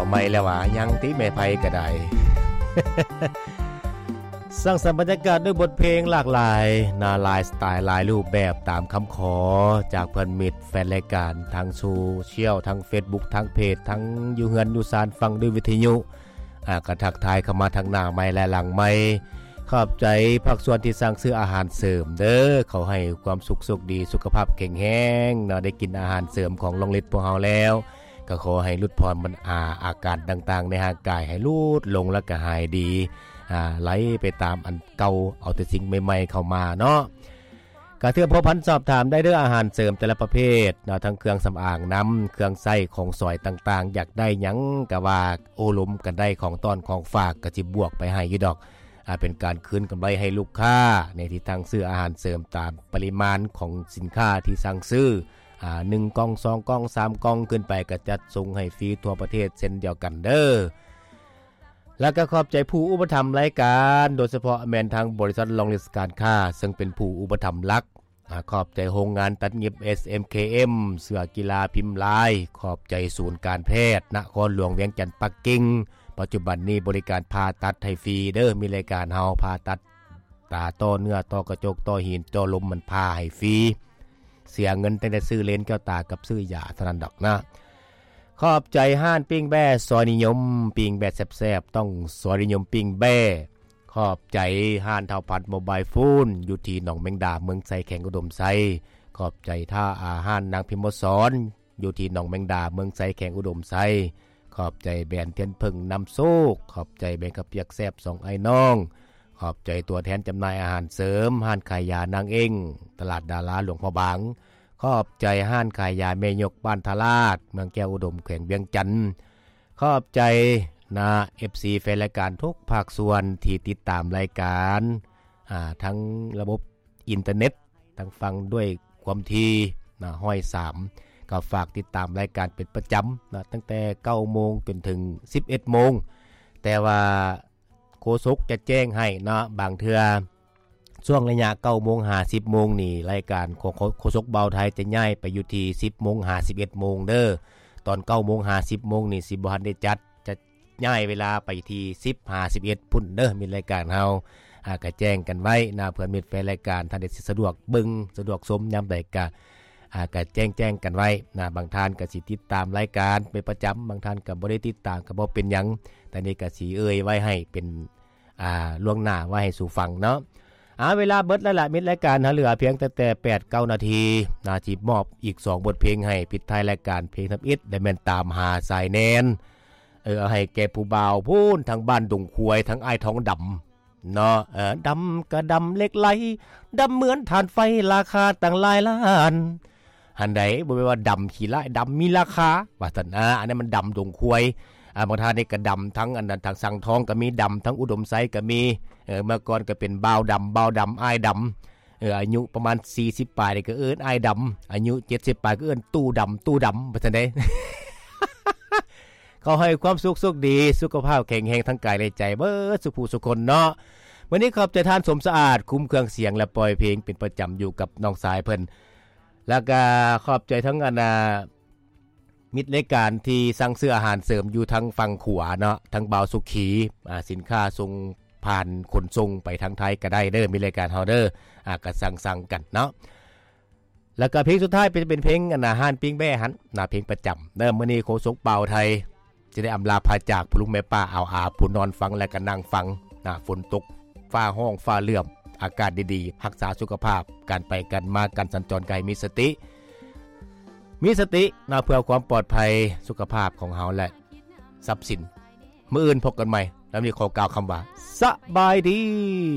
ໃໝ່ແລ້ວຫວາ? ຍັງຕິແມ່ໄພກໍໄດ້. ສ້າງສັນບັນຍາກາດດ້ວຍບົດເພງຫຼາກຫຼາຍ ນາຫຼາຍສະໄຕລ໌ ຫຼາຍຮູບແບບ ຕາມຄຳຂໍຈາກເພື່ອນມິດແຟນລາຍການ ທາງໂຊຊຽວ ທາງເຟສບຸກ ທາງເພຈ ທັງຢູ່ເຮືອນຢູ່ຊານ ຟັງດ້ວຍວິທະຍຸ ອາ ກໍທັກທາຍເຂົ້າມາທັງໜ້າໄມ ແລະ ຫຼັງໄມ. ຂອບໃຈພາກສ່ວນທີ່ສັ່ງຊື້ອາຫານເສີມເດີ. ຂໍໃຫ້ຄວາມສຸກໂຊກດີ ສຸຂະພາບແຂງແຮງເນາະ, ໄດ້ກິນອາຫານເສີມຂອງລອງລິດພວກເຮົາແລ້ວ ກໍຂໍໃຫ້ຫຼຸດຜ່ອນບັນ ອາ ອາການຕ່າງໆໃນຮ່າງກາຍໃຫ້ຫຼຸດລົງ ແລ້ວກໍຫາຍດີ ອາ ໄຫຼໄປຕາມອັນເກົ່າ, ເອົາແຕ່ສິ່ງໃໝ່ໆເຂົ້າມາເນາະ. ກະເທື່ອພົວພັນສອບຖາມໄດ້ເດີ ອາຫານເສີມແຕ່ລະປະເພດເນາະ, ທັງເຄື່ອງສຳອາງນຳ ເຄື່ອງໃຊ້ຂອງສອຍຕ່າງໆ, ຢາກໄດ້ຫຍັງກະວ່າໂອ້ລົມກັນໄດ້, ຂອງຕ້ອນຂອງຝາກກະຊິບວກໄປໃຫ້ຢູ່ດອກ. ອາ ເປັນການຄືນກຳໄລໃຫ້ລູກຄ້າໃນທີ່ທາງຊື້ອາຫານເສີມຕາມປະລິມານຂອງສິນຄ້າທີ່ສັ່ງຊື້. ອາ ໜຶ່ງກ່ອງ ສອງກ່ອງ ສາມກ່ອງຂຶ້ນໄປ ກະຈັດສົ່ງໃຫ້ຟຣີທົ່ວປະເທດເຊັ່ນດຽວກັນເດີ. ແລ້ວກໍຂອບໃຈຜູ້ອຸປະຖຳລາຍການ ໂດຍສະເພາະແມ່ນທາງບໍລິສັດລອງລິດການຄ້າ ເຊິ່ງເປັນຜູ້ອຸປະຖຳຫຼັກ. ອາ ຂອບໃຈໂຮງງານຕັດຫຍິບ ເອສເອັມເຄເອັມ ເສື້ອກິລາພິມລາຍ, ຂອບໃຈສູນການແພດນະຄອນຫຼວງວຽງຈັນປັກກິ່ງ, ປັດຈຸບັນນີ້ບໍລິການຜ່າຕັດໃຫ້ຟຣີເດີ. ມີລາຍການເຮົາຜ່າຕັດຕາ, ຕໍ່ເນື້ອ, ຕໍ່ກະຈົກ, ຕໍ່ຫີນ, ເຈາະລົມ, ມັນຜ່າໃຫ້ຟຣີ. ເສຍເງິນຕັ້ງແຕ່ຊື້ເລນແກ້ວຕາກັບຊື້ຢາເທົ່ານັ້ນດອກນະ. ຂອບໃຈຮ້ານປີ້ງແບ້ຊອຍນິຍົມ, ປີ້ງແບ້ແຊບໆ ຕ້ອງຊອຍນິຍົມປີ້ງແບ້. ຂອບໃຈຮ້ານທ້າວພັດໂມບາຍໂຟນ ຢູ່ທີ່ໜອງແມງດາ ເມືອງໄຊ ແຂວງອຸດົມໄຊ. ຂອບໃຈທ່າ ອາ ຮ້ານນາງພິມມະສອນ ຢູ່ທີ່ໜອງແມງດາ ເມືອງໄຊ ແຂວງອຸດົມໄຊ. ຂອບໃຈແບຣນທຽນເຜິ້ງນຳໂຊກ, ຂອບໃຈແບຣນເຂົ້າປຽກແຊບສອງອ້າຍນ້ອງ, ຂອບໃຈຕົວແທນຈຳໜ່າຍອາຫານເສີມ ຮ້ານຂາຍຢານາງເອັງ ຕະຫຼາດດາລາ ຫຼວງພະບາງ, ຂອບໃຈຮ້ານຂາຍຢາແມ່ຍົກ ບ້ານທ່າລາດ ເມືອງແກ້ວອຸດົມ ແຂວງວຽງຈັນ, ຂອບໃຈນະ ເອັຟຊີ ແຟນລາຍການທຸກພາກສ່ວນທີ່ຕິດຕາມລາຍການ ອາ ທັງລະບົບອິນເຕີເນັດ ທັງຟັງດ້ວຍຄວາມຖີ່ນະ ຮ້ອຍສາມ ກໍຝາກຕິດຕາມລາຍການເປັນປະຈຳນະ ຕັ້ງແຕ່ເກົ້າໂມງຈົນເຖິງສິບເອັດໂມງ. ແຕ່ວ່າໂຄສົກຈະແຈ້ງໃຫ້ເນາະ, ບາງເທື່ອຊ່ວງໄລຍະເກົ້າໂມງຫາສິບໂມງນີ້ ລາຍການຂອງໂຄສົກບ່າວໄທຈະຍ້າຍໄປຢູ່ທີ່ສິບໂມງຫາສິບເອັດໂມງເດີ. ຕອນເກົ້າໂມງຫາສິບໂມງນີ້ຊິບໍ່ທັນໄດ້ຈັດ, ຈະ ຍ້າຍເວລາໄປທີ່ສິບຫາສິບເອັດພຸ້ນເດີ. ມິດລາຍການເຮົາ ອາ ກະແຈ້ງກັນໄວ້ນະ ເພື່ອມິດແຟນລາຍການ ທ່ານໃດຊິສະດວກເບິ່ງ ສະດວກຊົມຍາມໃດກະ ອາ ກະແຈ້ງໆກັນໄວ້ນະ. ບາງທ່ານກະຊິຕິດຕາມລາຍການເປັນປະຈຳ, ບາງທ່ານກະບໍ່ໄດ້ຕິດຕາມ ກະບໍ່ເປັນຫຍັງ, ແຕ່ນີ້ກະຊິເອີ່ຍໄວ້ໃຫ້ເປັນ ອາ ລ່ວງໜ້າໄວ້ໃຫ້ສູ່ຟັງເນາະ. ອາ ເວລາເບິດແລ້ວລະ ມິດລາຍການເຮົາເຫຼືອພຽງແຕ່ ແຕ່ແປດເກົ້ານາທີນະ, ຊິມອບອີກສອງບົດເພງໃຫ້ປິດທ້າຍລາຍການ ເພງທຳອິດ ແລະ ແມ່ນຕາມຫາສາຍແນນ. ເອີ ເອົາໃຫ້ແກ່ຜູ້ບ່າວພຸ້ນ ທາງບ້ານດົງຄວາຍ ທາງອ້າຍທອງດຳເນາະ. ເອີ ດຳກະດຳເຫຼັກໄຫຼ ດຳເໝືອນຖ່ານໄຟ ລາຄາຕັ້ງຫຼາຍລ້ານ. ຫັ້ນໃດ ບໍ່ແມ່ນວ່າດຳຂີ້ລ້າຍ ດຳມີລາຄາ ວ່າຊັ້ນ. ອາ ອັນນັ້ນມັນດຳດົງຄວາຍ. ອາ ບາງທ່ານນີ້ກະດຳທັງອັນນັ້ນ ທາງສັງທອງກະມີ, ດຳທັງອຸດົມໄຊກະມີ. ເອີ ເມື່ອກ່ອນກະເປັນບ່າວດຳ ບ່າວດຳ ອ້າຍດຳ. ເອີ ອາຍຸປະມານສີ່ສິບປາຍນີ້ກະເອີ້ນອ້າຍດຳ, ອາຍຸເຈັດສິບປາຍກະເອີ້ນຕູ້ດຳ ຕູ້ດຳ ວ່າຊັ້ນເດ້. ຂໍໃຫ້ຄວາມສຸກໂຊກດີ ສຸຂະພາບແຂງແຮງທັງກາຍແລະໃຈ ເບິດສູ່ຜູ້ສູ່ຄົນເນາະ. ມື້ນີ້ຂອບໃຈທ່ານສົມສະອາດ ຄຸ້ມເຄື່ອງສຽງ ແລະ ປ່ອຍເພງເປັນປະຈຳຢູ່ກັບນ້ອງຊາຍເພິ່ນ. ແລ້ວກະຂອບໃຈທັງອັນນາ ມິດລາຍການທີ່ສັ່ງຊື້ອາຫານເສີມຢູ່ທາງຝັ່ງຂວາເນາະ, ທາງບ່າວສຸຂີ ອາ ສິນຄ້າສົ່ງຜ່ານຂົນສົ່ງໄປທາງໄທກໍໄດ້ເດີ, ມິດລາຍການເຮົາເດີ, ອາ ກໍສັ່ງໆກັນເນາະ. ແລ້ວກໍເພງສຸດທ້າຍເປັນ ເປັນເພງອັນນາ ຮ້ານປີ້ງແບ້ຫັ້ນນະ, ເພງປະຈຳເດີ. ມື້ນີ້ໂຄສົກບ່າວໄທຊິໄດ້ອຳລາພາຈາກ ຜູ້ລຸງແມ່ປ້າອາວອາ ຜູ້ນອນຟັງ ແລະ ກໍນັ່ງຟັງນະ, ຝົນຕົກ ຟ້າຮ້ອງຟ້າເຫຼື້ອມ, ອາກາດດີໆ, ຮັກສາສຸຂະພາບ, ການໄປການມາ ການສັນຈອນກໍໃຫ້ມີສະຕິ, ມີສະຕິນະ ເພື່ອຄວາມປອດໄພສຸຂະພາບຂອງເຮົາ ແລະ ຊັບສິນ. ມື້ອື່ນພົບກັນໃໝ່, ແລ້ວນີ້ຂໍກ່າວຄຳວ່າ ສະບາຍດີ.